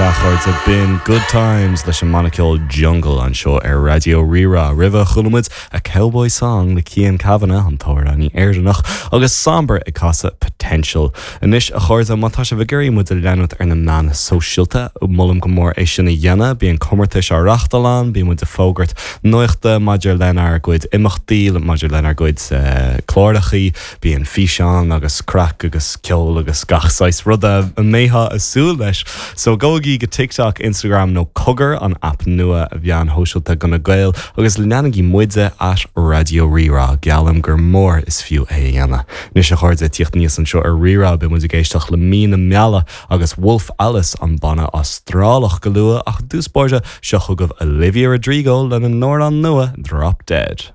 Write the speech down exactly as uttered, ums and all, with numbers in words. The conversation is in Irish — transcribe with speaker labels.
Speaker 1: Sea a chairde b'in Good Times leis an mbanna ceoil Jungle anseo ar Raidió Rí-Rá. Roimhe chuala muid a Cowboy Song le Cian Kavanagh an t-amhránaí Éireannach agus Somber ag casadh Potential. Anois a chairde má tá sibh ag iarraidh muid a leanúint ar na meáin shóisialta molaim go mór é sin a dhéanamh, bíonn comórtais á reáchtáil ann, bíonn muid ag fógairt nuachta maidir lenár gcuid imeachtaí maidir lenár gcuid uh, clárachaí, bíonn físeán agus craic agus ceol agus gach saghas ruda a mbeifeá ag súil leis. So gabhaigí go TikTok, Instagram nó Cogar an app nua a mheáin shóisialta do na Gaeil agus leanaigí muide at Raidió Rí-Rá geallaim gur mór is fiú é a dhéanamh. Anois a chairde tíocht níos anseo ar Rí-Rá beidh muid ag éisteacht le mí na meala agus Wolf Alice an banna Astrálach go luath ach dúspáide seo chugaibh Olivia Rodrigo lena n-amhrán nua Drop Dead.